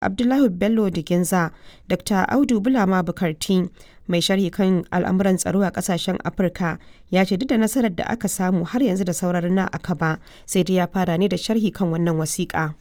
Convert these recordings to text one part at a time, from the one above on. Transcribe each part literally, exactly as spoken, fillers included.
Abdullahi Bello Diginza, Dr Audu Bulama Bukarti, mai sharhi kan al'amuran tsaro a kasashen Afirka, ya ce duk da nasarar da aka samu har yanzu da sauran rina a kaba, sai dai ya fara ne da sharhi kan wannan wasiƙa.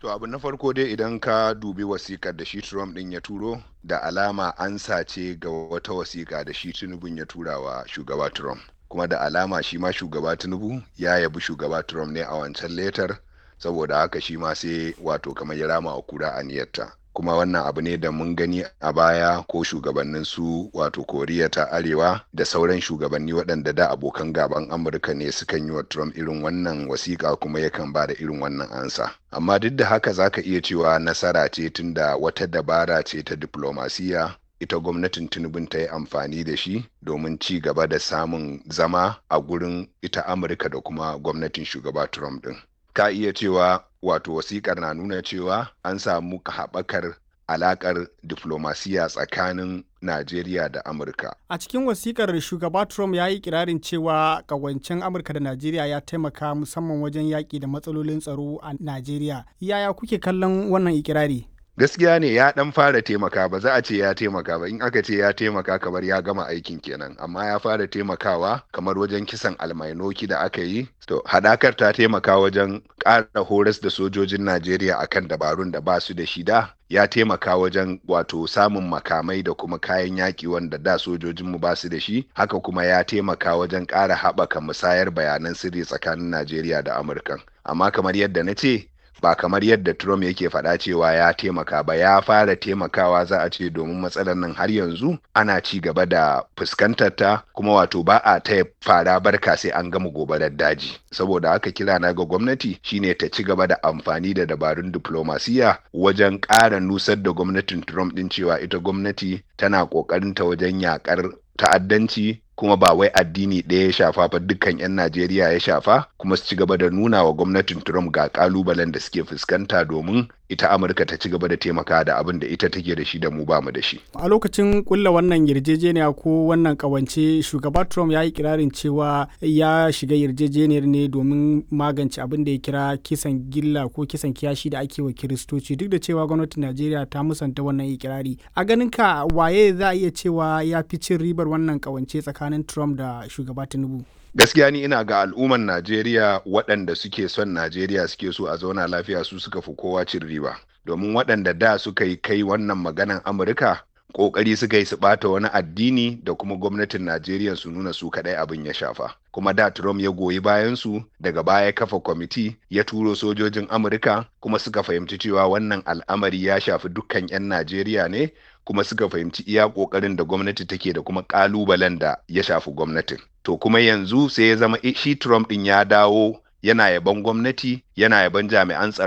To abu na farko dai idan ka dubi wasikar da shi Trump ɗin ya turo da alama an sace ga wata wasiƙa da shi Tinubun ya tura wa shugaba Trump. Kuma da alama shi ma shugaba Tinubu ya yabi shugaba Trump ne a wancan letar saboda haka shi ma sai wato kamar ya rama wa kura aniyarta. Kuma wannan abu ne da mun gani a baya ko shugabannin su wato Koriya ta Arewa da sauran shugabanni waɗanda da abokan gaban Amurka ne sukan yi wa Trump irin wannan wasiƙa kuma yakan ba da irin wannan ansa. Amma duk da haka za ka iya cewa nasara ce tunda wata dabara ce ta diplomasiya ita gwamnatin Tinubun ta yi amfani da shi domin ci gaba da samun zama a gurin ita Amurka da kuma gwamnatin shugaba Trump ɗin. Ka iya cewa wato wasikar na nuna cewa an samu haɓakar alaƙar diflomasiya tsakanin Najeriya da Amurka. A cikin wasikar shugaba Trump ya yi kirarin cewa ƙawancen Amurka da Najeriya ya taimaka musamman wajen yaƙi da matsalolin tsaro a Najeriya. Yaya kuke kallon wannan ikirari? Gaskiya ne ya dan fara taimaka ba za a ce ya taimaka ba in aka ce ya taimaka kamar ya gama aikin kenan amma ya fara taimakawa kamar wajen kisan almainoki da aka yi to hadakar ta taimaka wajen ƙara horas da sojojin Najeriya akan dabarun da ba su da shi da ya taimaka wajen wato samun makamai da kuma kayan yaƙi wanda da sojojinmu ba su da shi haka kuma ya taimaka wajen ƙara haɓaka musayar bayanan sirri tsakanin Najeriya da Amurka amma kamar yadda na ce ba kamar yadda Trump yake faɗa cewa ya taimaka ba ya fara taimakawa za a ce domin matsalar nan har yanzu ana ci gaba da fuskantar ta kuma wato ba a taya fara barka sai an gama gobarar daji saboda haka kira na ga gwamnati shine ta ci gaba da amfani da dabarun diplomasiya wajen ƙara nusar da gwamnatin Trump din cewa ita gwamnati tana ƙoƙarin ta wajen yakar ta'addanci kuma ba wai addini ɗaya ya shafa ba dukkan 'yan Najeriya ya shafa kuma su ci gaba da nuna wa gwamnatin Trump ga kalubalen da suke fuskanta domin ita Amurka ta ci gaba da taimaka da abin da ita take da shi da mu ba mu da shi. A lokacin kulla wannan yarjejeniya ko wannan kawance shugaba Trump ya yi kirarin cewa ya shiga yarjejeniyar ne domin magance abin da ya kira kisan gilla ko kisan kiyashi da ake wa Kiristoci duk da cewa gwamnatin Najeriya ta musanta wannan ikirari. A ganin ka waye za a iya cewa ya fi cin ribar wannan kawance tsakanin Trump da shugaba Tinubu? Gaskiya ni ina ga al'umman Najeriya waɗanda suke son Najeriya suke so a zauna lafiya su suka fi kowa cin riba. Domin waɗanda da suka yi kai wannan maganan Amurka ƙoƙari suka yi su ɓata wani addini da kuma gwamnatin Najeriya su nuna su kaɗai abin ya shafa. Kuma da Trump ya goyi bayan su daga baya kafa kwamiti ya turo sojojin Amurka kuma suka fahimci cewa wannan al'amari ya shafi dukkan 'yan Najeriya ne kuma suka fahimci iya ƙoƙarin da gwamnati take da kuma ƙalubalen da ya shafi gwamnatin. To kuma yanzu sai ya zama shi Trump ɗin ya dawo yana yaban gwamnati yana yaban jami'an tsaro.